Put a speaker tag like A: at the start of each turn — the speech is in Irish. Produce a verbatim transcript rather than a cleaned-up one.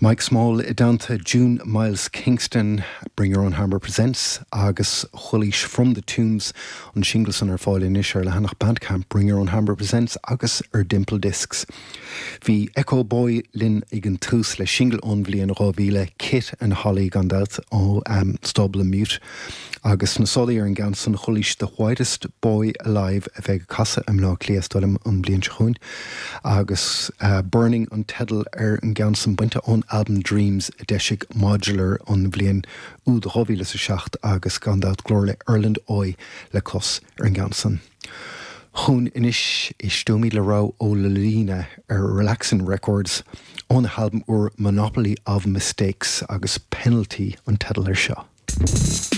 A: Mike Small i dteannta June Miles Kingston, Bring Your Own Hammer Presents agus chualaís From the Tombs an singil san ar fáil anois ar leathanach Bandcamp Bring Your Own Hammer Presents agus ar Dimple Discs. Bhí Echo Boy linn ag an tús le singil ón bhliain dhá mhíle Kit and Holly gan dabht ó um, stábla Mute. Agus na solaí ar an gceann san chualaís The Whitest Boy Alive a bheidh ag casadh i mBleá Cliath dom an bhliain seo chugainn agus uh, Burning an teideal ar an gceann san bainte ón album Dreams a d'eisigh Modular an bhliain úd dhá mhíle a seacht agus gan dabht glór le Erland Oi le clos ar an gceann san. Chun anois éisteoimid le rogha ó Lilina ar Relaxin Records óna halbam úr Monopoly of Mistakes agus Penalty an teideal ar seo.